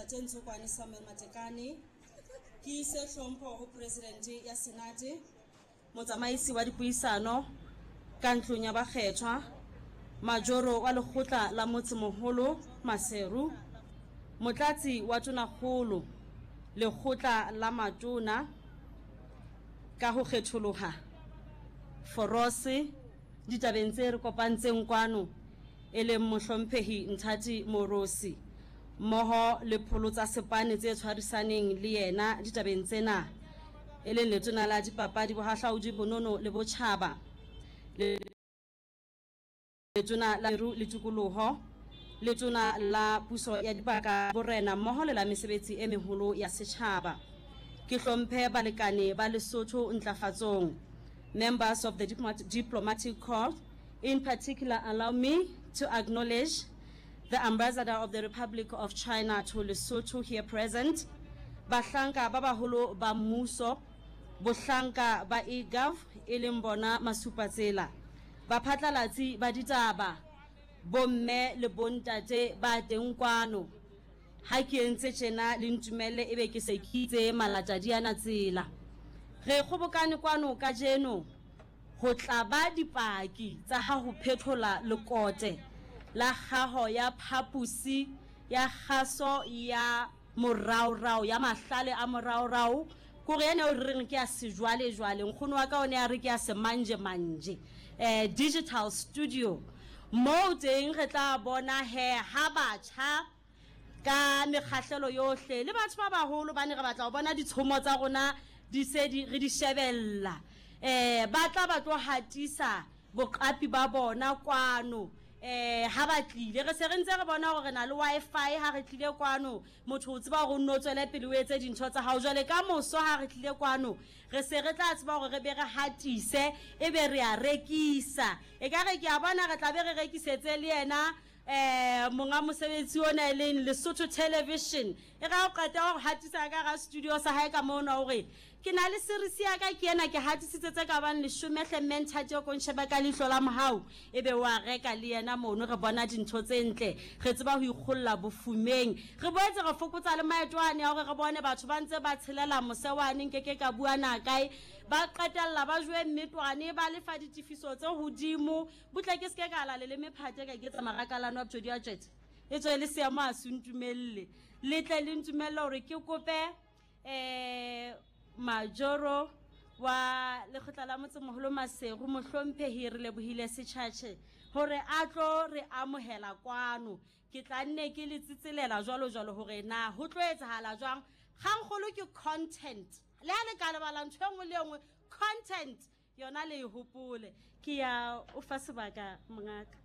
Ntate Ntshokwane Samuel Matekane. Ke ise hlompho ho Presidente ya Senate, Motsamaisi wa dipuisano ka ntlong ya bakgethwa, Majoro wa lekgotla la motsemoholo Maseru, Motlatsi wa Tonakgolo, Lekgotla la Matona ka ho kgetholoha, Forose, ditabeng tse re kopantseng kwano e leng Mohlomphehi Nthati Moorosi mmoho le pholo tsa sepane tse tshwarisaneng le yena ditabeng tsena e leng Letona la Dipapadi, Bohahlaudi, Bonono le Botjhaba, Letona la Meru le Tikoloho, Letona la Puso ya Dibaka, Borena mmoho le la Mesebetsi e Meholo ya Setjhaba. Ke hlomphe balekane ba Lesotho ntlafatsong, members of the Diplomatic Corps, in particular allow me to acknowledge the Ambassador of the Republic of China to Lesotho here present, bahlanka ba baholo ba mmuso, bohlanka ba eGov e leng bona masupatsela, baphatlalatsi ba ditaba, bomme le bontate ba teng kwano. Ha ke entse tjena le ntumelle ebe ke se ke itse malatadiana tsela. Re kgobokane kwano kajeno ho tla ba dipaki tsa ha ho phethola lekote la kgaho ya phaposi ya kgaso ya moraorao ya mahlale a moraorao kore ena eo re reng ke ya sejwalejwale nkgono wa ka o ne a re ke ya semanjemanje um digital studio moo teng re tla bona he ha batjha ka mekgahlelo yohle le batho ba baholo ba ne re batla go bona ditshomo tsa rona di se di re di shebella um ba tla ba tlo hatisa boqapi ba bona kwano eh ha ba tlile re se re ntse re bona gore re na le wifi ha re tlile kwano motho o tseba gore o nne o tswele pele o etse dintho tsa gago jwale ka moso ha re tlile kwano re se re tla tseba gore re be re hatise e be re a rekisa e ka re ke a bona re tla be re rekisetse le yena um monga mosebetsi ona e leng Lesotho Television e ga o qeta go hatisa ka ga studio sa gae ka mona gore ke na le series ya ka ke ena ke hatisitse tse ka bang leshome hle mme nthate o konshebe ka leihlo la mohau e be wa reka le yena mono re bona dintho tse ntle re tseba go ikgolola bofumeng re boetse re fokotsa le maeto ane a gore re bone batho ba ntse ba tshelela mose wane nke ke ka bua na kae ba qetella ba joe mmetwane ba lefa ditefiso tse godimo butle ke seke ka ala leleme phate ka iketsa marakalano a bjodi a tšwete e tswe le seemo a se ntumelle le tle le ntumelle gore ke kope um majoro wa lekgotla la motsemogolo Masego mohlomphegi re lebohile setšhatšhe gore a tlo re amogela kwano ke tla nne ke le tsitselela jwalo jwalo gore na go tlo etsagala jwang kgangkgolo ke content le ha le ka lebala ntho e nngwe le e nngwe content yona le e hopole ke ya o fa sebaka mongaka.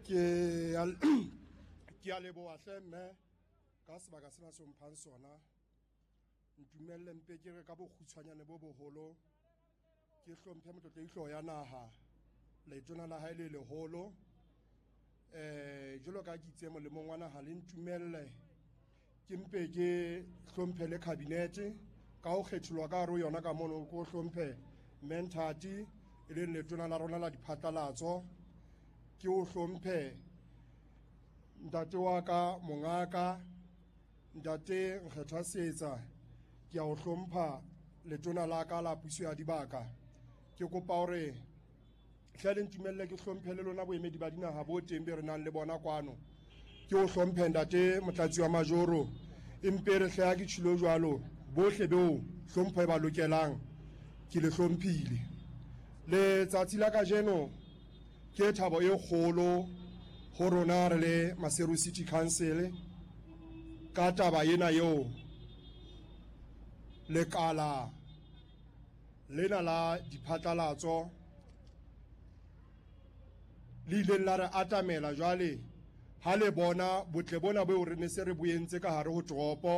Ke a leboa hle mme ka sebaka sena se mphang sona. Ntumelle mpe ke re ka bokgutshwanyane bo boholo ke hlomphe motlotlehi ya naha letona la hae le leholo eh jalo ka ke itse molemong wa naha le ntumelle ke mpe ke hlomphe le cabinet ka ho kgetholwa ka hare ho yona ka mono ko hlomphe Menthati e leng letona la rona la diphatlalatso ke o hlomphe ntate wa ka mongaka Ntate Nkgethwa Seetsa, ke a o hlompha letona la ka la puso ya dibaka. Ke kopa hore hle le ntumelle ke hlomphe le lona boemedi ba dinaha bo teng be re nang le bona kwano. Ke o hlomphe ntate motlatsi wa majoro, empe re hle ha ke tjhilo jwalo bohle beo hlompho e ba lokelang ke le hlomphile. Letsatsi la kajeno Ke thabo e kgolo ho rona re le Maseru City Council ka taba ena eo lekala lena la diphatlalatso le ileng la re atamela jwale ha le bona botle bona beo re ne se re bo entse ka hare ho toropo.